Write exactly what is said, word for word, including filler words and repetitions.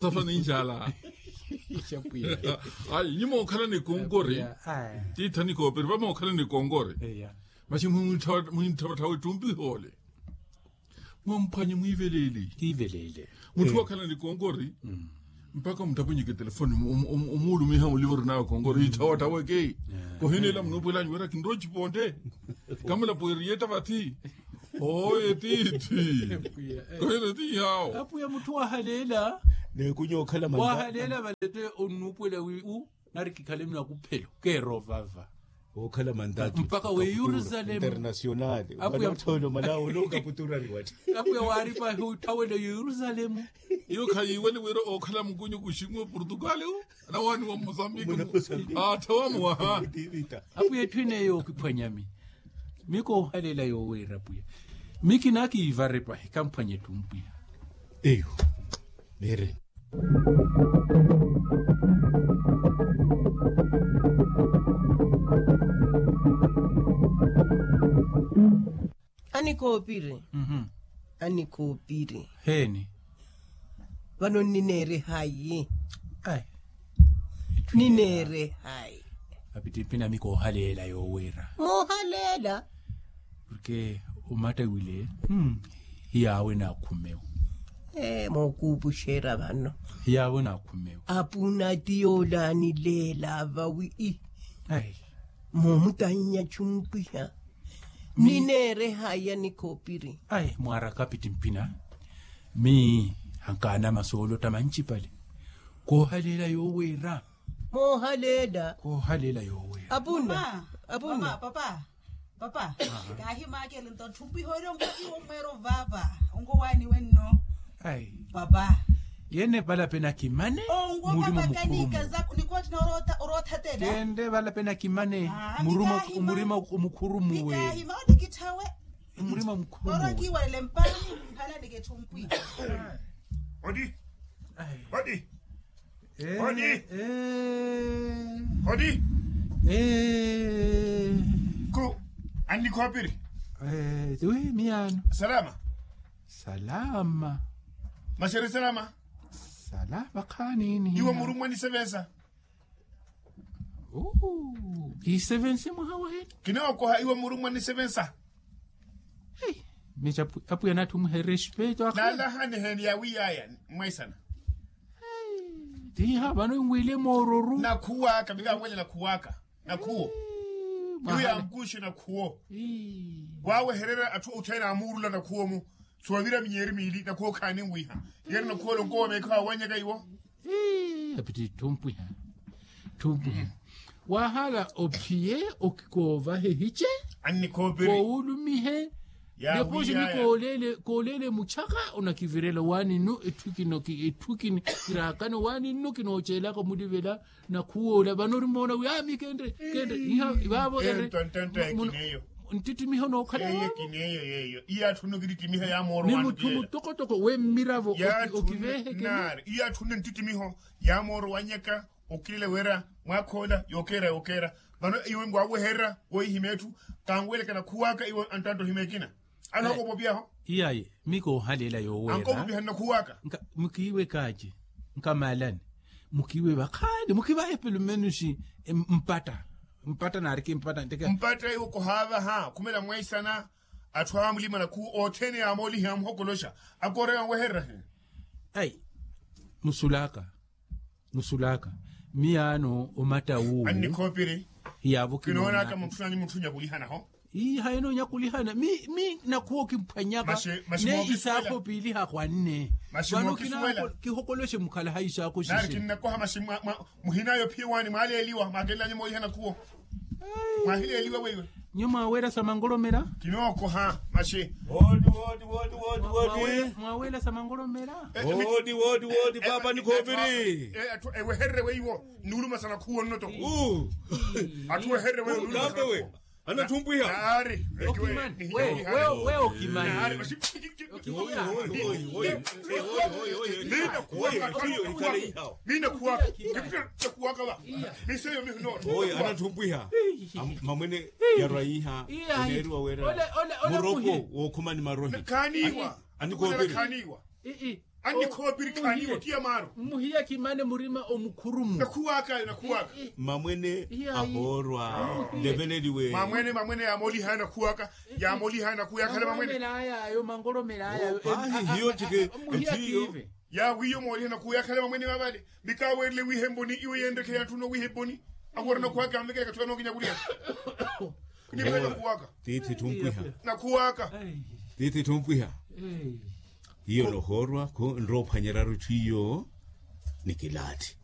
Safa ninjala. Ayi nyuma okhala ni konkori. Tiitha ni koopiri vamo okhala ni konkori. Masi muhintthawatthawa ettumpiha ole. Mwamphwanye mwiivelele. Mutthu wakhala ni konkori. Mpakha muttapwenyeke telefoni omuulumiha mulivo orinawe konkori itthawatthawa eke. Kohineela munuupuwelanyu wira kinrowa ocipontte. Kamulapo eriye ettavathi. Oye tiithi. Kohina ti yawo. Apwiya mutthu wahaleela. Neekunya okhala mantatu wahaleela valette onnuupuwela wi u nari kikhale munakuphelo keera ovava. Okhala mantatu mpakha wi yerusalemu international. Apwiya muttholo malawo olonkaputurari watti. Apwiya waaripa huttha wele yerusalemu. Iyo khayiiwele wira okhala mukunyu kuxingu wa portugal u. Anawaani wa mozambiki attha wamuwaha. Apwiya etthu ene yookiphwanyami. Mi koohalela yooweera pwiya. Mi kinakiivare pahi kamphwanye etthu mpwiya. Eyo neereni. Anikoopiri. Anikoopiri heeni. Vano nnineere hayi? Nnineere hayi? Apittimpina mi koohaleela yooweera. Moohaleela? Porke omatta wile hiyaawe naakhumewo. Mookuupuxeera vano. Hiyaawe naakhumewo. Apuna ti yoolaanileela vawi. Moomutannya chumpwiha. Nnineere hayi anikoopiri? Ayi mwaaraka apittimpina. Mi hankaanama soolotta manchipale. Koohaleela yooweera. Moohaleela. Koohaleela yooweera. Apuna. Apuna. Papa. Papa. Kaahimaakelento tthumpiha ori ongo iwo mweero vaava. Ongo waaniwe nno. Papa. Yene vala pena kimane. Ongo papa kanikaza nikooti na oroothatela. Kende vala pena kimane. Murima omukhurumuwe. Kaahima onikitthawe. Murima omukhurumuwe orokiiwalele mpaani. Mpala niketthumpi. Odi. Odi. Odi. Odi. Ku annikhoopiri. Wi miyaano. Salama. Salama. Masi ori salama? Salama khaaniini. Iwe murummwa nisevensa. Kisevense mwaha waheni. Kinookoha iwe murummwa nisevensa. Mica apwiya natthi omuherespeto akhala naalahani heni yawiyaya. Mwaisana. Tiha vano nwile moororu nakhuwaka mivaawele nakhuwaka. Nakhuwo. Iyo yamkuxi nakhuwo. Waawehererya atthu othene amuurula nakhuwo-mu. Suwavira minyeeri miili nakhuwo khaani nwiiha. Yeeri nakhuwo lonkowa meekha waawannyaka iwo. Apittitthu mpwiha. Tthu mpwiha. Waahala ophiye okikoovahe hice. Annikhoopiri. Koowulumihe. Nekoxi ni kooleele muchaka onakivirela waani nnu etthu kino etthu kini kiraakano waani nnu kinooceelaka omulivela. Nakhuwoola vano orimoona wi ami kenre kenre iha vaavo ere. Nttittimiho nookhala vaavo. Ni mutthu mutokotoko wemmiravo okiveehekene. Iyo atthunne nttitimiho yaamooro wannyaka. Okilile wira mwaakha ola yookeera yookeera. Vano iwe ngwaawehererya wohihimya etthu. Kanwelekana khuwaaka iwe anttantta ohimya ekina. Anookopopiyaho. Iyayi mi koohaleela yooweera. Ankoopopiha nnakhuwaaka. Mukiiwe kaaci nkamalani. Mukiiwe vakhaani mukivahe pelumenusi. Mpatta mpatta naariki mpatta nteke. Mpatta iwe kohaavaha khumela mweisana. Atthu aamulima nakhuwu othene yaamooliha yaamuhokoloxa. Akoora yaamuwehererahe. Ayi musulaka. Musulaka miyaano omatta wuuwu. Annikhoopiri. Hiyaavo kinoonaka mutthu nanyu mutthu onyakulihanaho. Ii hayi noonyakulihana mi mi nakhuwo kimphwanyaka. Ne isaakho piili hahwanne. Vano kihokoloxe mukhala ha isaakho sise. Nari kinnakoha masi muhinayo phiye waani mwaaleeliwa mwaakelelanye moolihana khuwo. Mwahileeliwa weiwe. Nyo mwaaweera sa mangolomela. Kinookoha masi. Wodi wodi wodi wodi wodi. Mwaaweera sa mangolomela. Wodi wodi wodi papa ni khoopiri. Atthu ewehererye weiwo nnuuluma sa nakhuwo nnoto. Atthu wehererye weiwo nnuuluma sa nakhuwo. Anathumpwiha. Ari. Okimani. Wewe okimani. Ari. Miina khuwaka va miseyo mihinoto. Oyo anathumpwiha. Mamwene yarwa yiiha oneeriwa weera muropo wookhumani marohi. Khaaniiwa. Anikoopiri. Khaaniiwa. Annikhoopirikhaani ottiya maaro. Mmuhiya kimane murima omukhurumu. Nakhuwaaka ayo nakhuwaaka. Mamwene ahoorwa nleveleliwe. Mamwene mamwene yaamoolihaya nakhuwaaka. Yaamoolihaya nakhuwaaka yakhale mamwene. Mangolomela ayayo mangolomela ayayo. Ahi hiyo tike. Mmuhiya kiive. Yaawiiyo moolihana khuyakhale mamwene wa vale. Mikaaweerele wiihe mboni iwe yenrekhele atthu noowiihe mboni. Akhurana khuwaaka anvekele kathuka nookinyakuliha. Kuniphela nakhuwaaka. Tiithi ttumpwiha. Nakhuwaaka. Tiithi ttumpwiha. Hiyo nohoorwa khu nroophwanyeryaru etthu iyo. Nikilaathi.